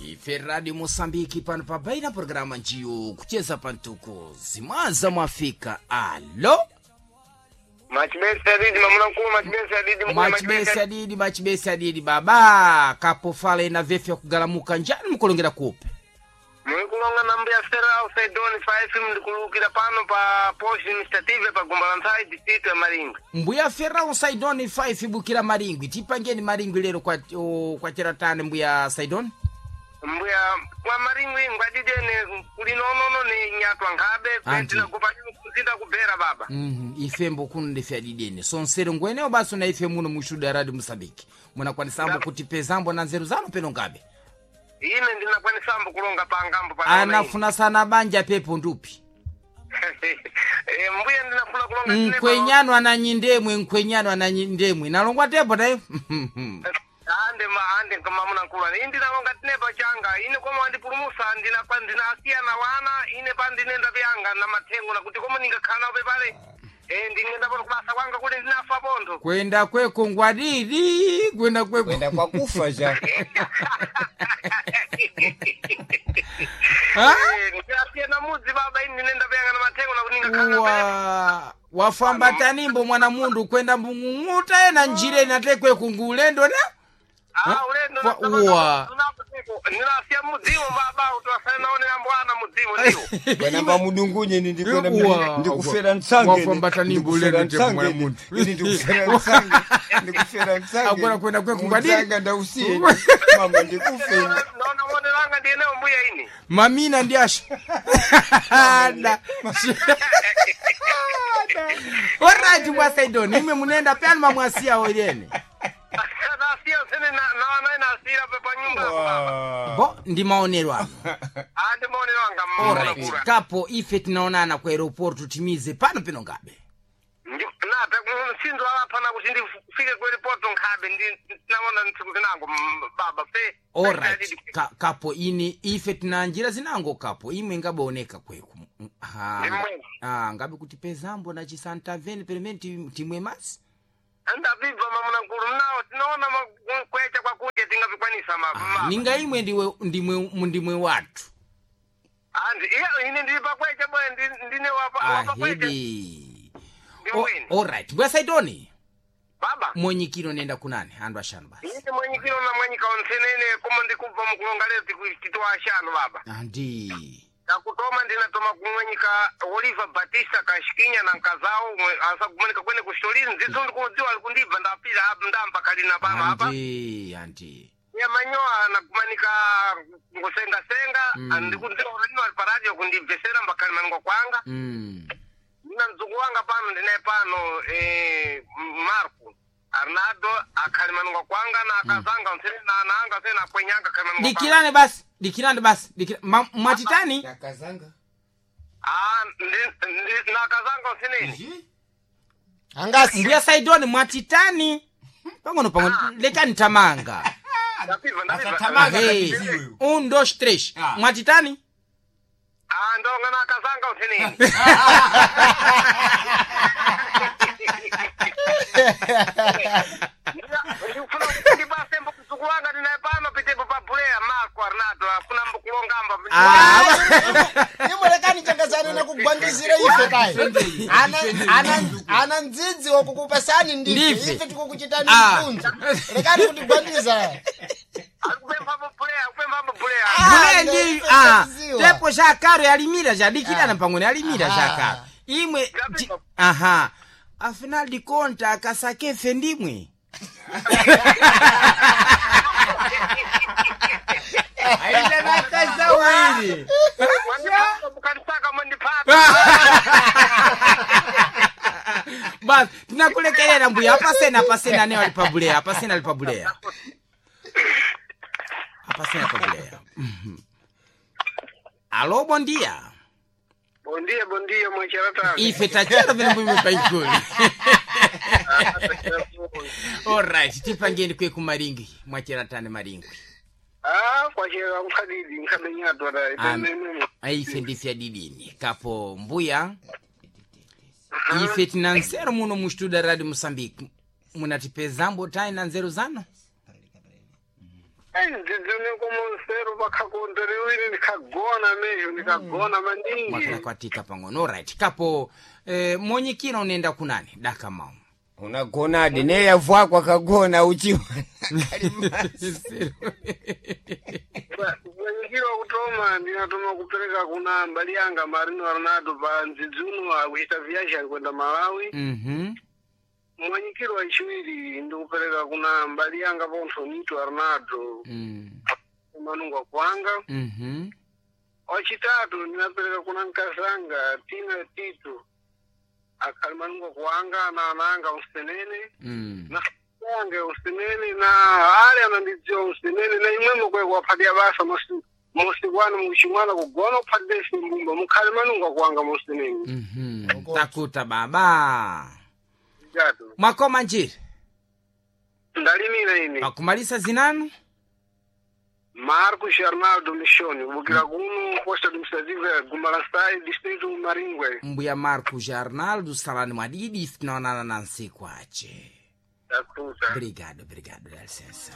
Ife Radio Mosambiki pano pabaina programa njiyo kucheza pantuko zimwaza mwafika. Alo. Machibesi adidi mamuna nkulu, machibesi adidi mkulu. Machibesi adidi, machibesi adidi baba kapofala ina vefu ya kugalamuka njani mukulongera kupe. Mulikulonga na mbuya Stella au Saidoni 5 ndikulukira pano pa post administrative pa Gumbalantsai district ya Maringwe. Mbuya Ferrao Saidoni 5 bukira Maringwi, tipangeni Maringwi lero kwa, kwa cheratane mbuya Saidoni. Mbuya kwa Maringwi ngwadidene kuli nonono ni nyatwa nkhabe Anti. kwendina kuzinda kubera baba. Ife mbokuno ndife adidene sonsero ngweneo basi na ife muno mushuda Radio Mosambiki munakwanisambo kuti pezambo na nzeru zanu peno ngabe. Ine ndinakwanisambo kulonga pangambo pa Anafuna sana banja pepo ndupi. Eh, mbuya ndinafuna kulonga tine pa- Nkwenyano ananyindemwe, nkwenyano ananyindemwe nalongwa tepo naye. Ande ma ande mamuna nkulu ine ndinalonga tinepa changa ine koma wandipulumusa ndinapa ndinasiya na wana ine pa ndinenda pyanga na mathengo nakuti koma ningakhala nawo pepale eh ndingenda pano kubasa kwanga kuli ndinafa pontho. Kwenda kweko ngwadidi, kwenda kweko. Kwenda kwa kufa ja. Ha? Eh, ndinasiya na mudzi baba ine ndinenda pyanga na mathengo nakuti ningakhala nawo pepale. Wa wafambatanimbo mwana mundu kwenda mbung'ung'uta ena njire inatekwe kungulendo na. Ah, ulendo Wa- ndinasiya mudziwo baba kuti wasale naonera mbwana mudziwo ndiwo. Bwana mba mudungunye ni ndikwenda Uwa. ndikufera ntsange. Wafambatanimbo ulendo tepo mwana mundu. Ini ndikufera ntsange. Ndikufera ntsange. Agora kwenda kwe kungwadidi. Mutsanga ndausiye. Mama ndikufe. Naona moneranga ndiyenewo mbuya ine. Mamina ndi asha. Da. Alright mwasaidoni imwe munenda pyanu mamwasiya oyene. Nasiya sene na na nasira pa nyumba baba. Bo ndi maonero ano. Ande maoneranga Alright. mwana. Kapo ife tinaonana ku aeroport tutimize pano pino ngabe. Nape msindo alapha nakuti ndifike kwelipoto nkhabe ndinaona ntsiku zinango baba fe. Alright. Kapo ini ife tina njira zinango kapo imwe ngabooneka kweku. Ha. Ndimwe. Ah, ngabe kuti pezambo na chisanta veni pelementi timwe masi. Andabibva mamuna nkulu mnawo tinaona kwecha kwakunja tingavikwanisa Ah, mama. ninga imwe ndiwe ndimwe ndimwe watu. Andi iya ine ndili pakwecha bwe ndine wapa wapakwecha. Ahedi. Ndimwene. Alright. Bwasaidoni. Baba. Mwenyikiro nenda kunani andu ashanu basi. Ine mwenyikiro na mwenyika onsenene komo ndikubva mukulonga lero titiwa ashanu baba. Andi. Kakutoma ndinatoma kumwenyika Oliver Batista kashikinya na nkazao asakumanika kwene kushitolini ndzidzo ndikudziwa ali kundibva ndapira apa ndampa kalina pano apa. Andi, andi. Ya manyowa nakumanika ngusengasenga ndikudziwa kuti ali paradio kundibvesera mbakali maningwa kwanga. Ndina mdzukulu wanga pano ndinaye pano eh, Marco Arnaldo akhali maningwa kwanga na akazanga ntsene na ananga ntsene akwenyanga akhali maningwa kwanga. Dikirane basi, dikirane basi. Mwatitani? Nakazanga. Ah, na akazanga ntseneni. Angasi. Mbuya Saidoni mwatitani? Pang'ono pang'ono lekani tamanga. Ndapibva ndapibva. Asatamanga. Hey. Katiziwe. Un, dos, três. Ah. Mwatitani? Ah, ndonga na akazanga ntseneni. Ndikufuna kuti ndipase mdzukulu wanga ndinaye pano pitepo pa Bulea Marco Arnaldo afuna mbukulongamba. Imulekani changazana nakugwandizira ife kai. Ana ndzidzi wakukupasani ndife. Ndife. Ife tikukuchitani Ah. mtunzu. Lekani kutigwandiza. Akupempha Bulea, akupempha Bulea. Ah, Bule ndi ndife ah, taziwa. tepo chakaro yalimira chadikirana pang'ono yalimira Aha. chakaro. Imwe aha. Afinal de conta akasakefe ndimwe. Aida nakazawiri. Mwandipata mukanisaka mwandipata. Basi tinakulekelera mbuya apasena apasena anewo ali pabuleya apasena ali pabuleya apasena pabuleya. Alo bondia. Bom dia, bom dia, mwacharatana. Ife tachera vene mbwimwe paigoli. Alright, tipangeni kwe kumaringi mwacheratane maringwi. Ah, kwachera mkhadidi mkhabenyatwa Am- da. Ife ndife adidini kapo mbuya ife tina nzeru muno mu studio radio Mosambiki munatipezambo tai na nzeru zanu. Ndzidzine komonsero pakhakonderewini ndikhagona mejo ndikagona maningi. Mwakala pang'ono. Alright, kapo monyikira unaenda kunani daka mau. Unagonadi neyavwako akagona uchiwa. Mwanyikiro wakutoma ndinatoma kupereka kuna mbali yanga Marino Arnaldo pa ndzidzuno akuchita viaji alikwenda Malawi. Mwanyikiro wachiwiri ndikupereka kuna mbali yanga pontho Nito Arnaldo manungwa kwanga. Wachitatu ndinapereka kuna nkazanga Tina Tito akhali manungwa kuwanga na ananga usenene na yange usenene na ale anandidziwa usenene na imwemo kwe kuwaphatira basa mosi kwanu muchimwana kugona kuphatira ife mbumba mukhale manungwa kuwanga mosenene. Takuta baba. Tatu. Mwakoma njiri. Ndalimira ine. Pakumalisa zinanu? Marcos Arnaldo Michoni kubukira kuno posta administrativa Gumbalasai distrito Maringwe. Mbuya Marcos Arnaldo salani mwadidi ife tinaonana na nsiku ache. Takuta. Obrigado, obrigado, dá licença.